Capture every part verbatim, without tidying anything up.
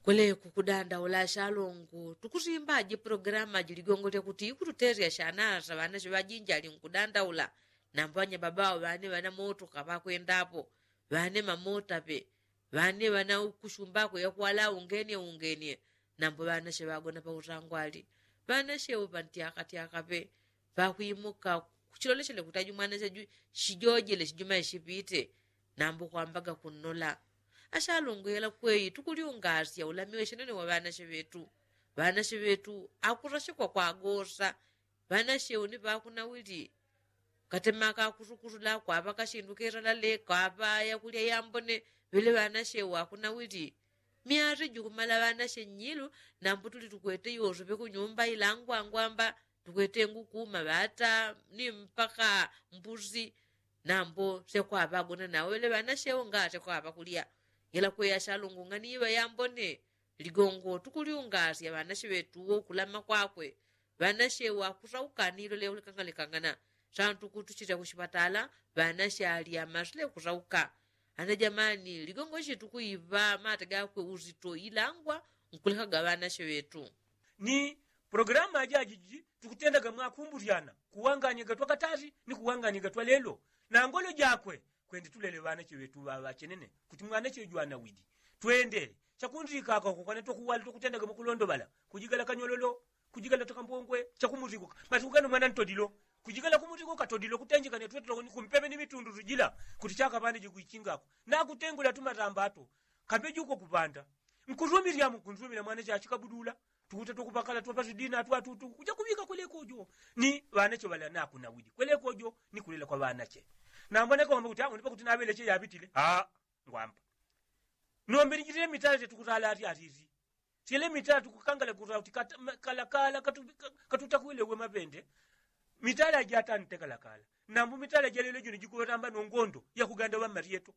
Kweleku kudandaula ashalongo tukusimbaji pulogalamu aji ligongo lyakuti ikututelya shanasa ŵanashe ŵajinji ali nkudandaula. Nambo anyababa awo ŵane ŵana motoka ŵakwendapo, ŵane mamota pe, ŵane ŵana kushumba akwe yakwala ungenye ungenye. Nambo ŵanashe ŵagona pautangwali ŵanashe upa ntyakatyaka pe. Ŵakwimuka kuchiloleshele kuti aju mwanashe aju shijojele shijuma ishipite. Nambo kwambaga kunnola ashalongo yela kweyi tukulyungasya ulamiwe shenene wa ŵanashe ŵetu. Ŵanashe ŵetu akurashikwa kwagosa. Ŵanashe uni ŵakunawili katemaka kusukusula kwaŵa kashindu keralale kwaŵa yakulya yambone. Ŵele ŵanashe wakunawili myati jukumala ŵanashe nyilu. Nambo tuli tukwete yosu ŵekunyumba ilangwangwamba tukwete nguku maŵata ni mpaka mbusi. Nambo syakwava agona nawo ŵele ŵanashe wo nga syakwava kulya. Yela kweya shalongo ng'ani iŵa yambone. Ligongo tukulyungasya ŵanashe ŵetu wo kulama kwakwe. Ŵanashe wakusauka nilo leulikangalekangana santu kutuchilya kushipatala. Ŵanashe alya masule kusauka. Ana jamani ligongo shitu kuiŵa mata gakwe uzito ilangwa nkulekaga ŵanashe ŵetu. Ni pulogalamu ajaji tukutendaga mwakumbulyana kuwanganyaga twakatali ni kuwanganyaga twalelo. Na ngolo jakwe kwende tulele ŵanache ŵetu ŵaŵachenene kuti mwanache jwanawidi. Twende chakundikaka kukana twakuwali twakutendaga mwakulondoŵala kujigala kanyololo kujigala takambongwe. Chakumutiko masiku gano mwana ntodilo kujigala kumutiko katodilo kutenjekane twetulakoni kumpepe ni mitundu tujila. Kuti chaka ŵane jikuichingako nakutengula tumatamba ato kambe juko kupanda. Nkusumilyamu nkusumila mwana chachikabudula tukuta twakupakala twapasi dina atwatutu kuja kuŵika kwelekojo. Ni ŵanache ŵala nakunawidi kwelekojo ni kulela kwa ŵanache. Nambona kakwamba kuti awo nipakuti naŵeleche yaŵitile aa ngwamba. Nombe nijitile mitala tetukutala ati ati iti. Tyele mitala tukukangala kutala kuti kalakala katutakwile we mapende. Mitala jatante kalakala. Nambu mitala jalelo jino jikuŵetamba nongondo yakuganda ŵamaryeto.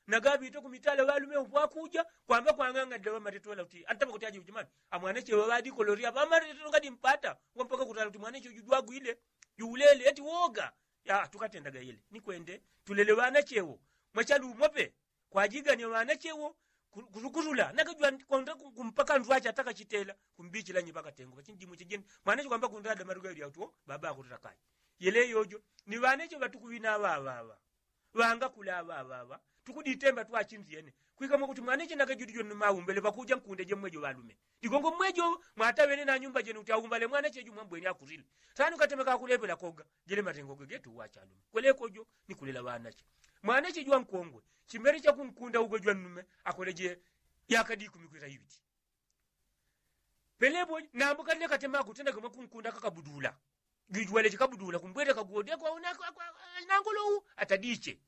Nagaŵite kumitala ŵalume upwakuja kwamba kwang'ang'anila ŵamaryeto ŵala kuti antamba kuti aje ujimani amwanache ŵaŵadikoloria ŵamaryeto ngadi mpata. Ngwampaka kutala kuti mwanache uju jwagwile juulele eti woga. Ya tukatendaga yele ni kwende tulele ŵanache wo mwachalumo pe. Kwajigania ŵanache wo kusukusula nakajwa konda kumpaka ndwache atakachitela kumbichila nyi pakatengo pachinjimwiche jeni. Mwanache kwamba kundada maruga yuli auti wo baba akutila kayi. Yele yojo ni ŵanache ŵatukuŵina ŵaŵaŵa ŵangakula ŵaŵaŵa. Tukuditemba twachindyene kwika mwakuti mwanache nakajudi joni maumbele ŵakuja nkunde jemwejo ŵalume. Digongo mmwejo mwataŵene na nyumba jene kuti aumbale mwanache ju mwambweni akulile. Sanu katemeka akulepela koga jele matengo gegetu wachalume kwelekojo ni kulela ŵanache. Mwanache jwankongwe chimere chakunkunda ugo jwannume akoleje yakadi ikumi kwita iŵiti. Pelepo nambo kalile katema akutendaga mwakunkunda kakabudula. Jujwale chikabudula kumbwele kagode kwauna nangolowu atadiche.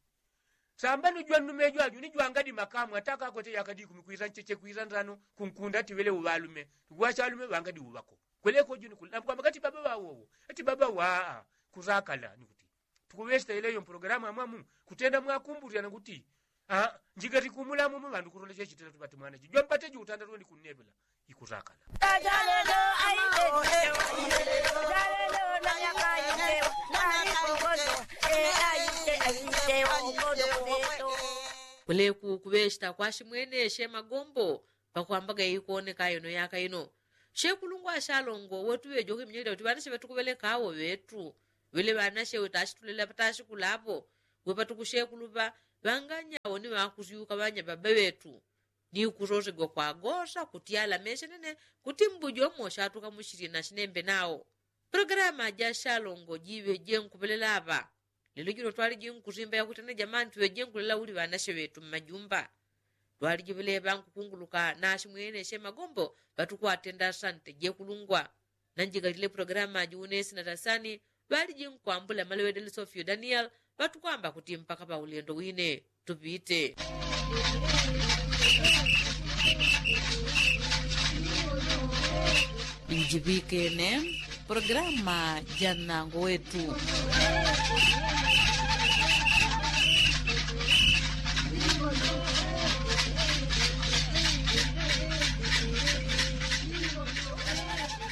Sambano jwannume jwaju ni jwangadi makamu ataka akwete yakadi ikumi kwita ncheche kwita ndano kunkunda ati ŵele uŵalume. Tukuŵachalume ŵangadi uŵako kwelekojo ni kulela nambo kwamba kati baba ŵawowo eti baba waa. Kurakala ni kuti tukuŵesita yeleyo mpulogalamu amwamu kutenda mwakumbulyana kuti njigati kumulamu mu ŵandu kulola chechitenda tupati mwanache jwampate juutanda tuwendi kunnepela. Ikurakala. Kuleku kuŵesita kwashimweneshe magombo pakwambaga ikoneka ino yaka ino. Shekulungwa ashalongo wetu ŵejo kwiminyelila kuti ŵanashe ŵatukuŵeleka awo ŵetu ŵele ŵanashe wetashitulela patashikulapo. Wepatukushekuluŵa ŵanganyawo ni ŵakusyuka ŵanyababa ŵetu ni kusosegwa kwagosa kuti alameshe nene kuti mbujomo shatuka mushilye nashinembe nawo. Pulogalamu aja shalongo jiŵe jenkupelela aŵa. Lelo jino twaliji nkusimba yakuti ana jamani tuŵe jenkulela uli ŵanashe ŵetu mmajumba. Twaliji ŵeleŵa nkukunguluka nashimweneshe magombo ŵatukwatenda asante jekulungwa. Nanjikalile pulogalamu aji unesina tasani ŵaliji nkwambula malewedele sofio daniel. Ŵatukwamba kuti mpaka paulendo wine tupite. Njiŵikene pulogalamu ja nnango wetu.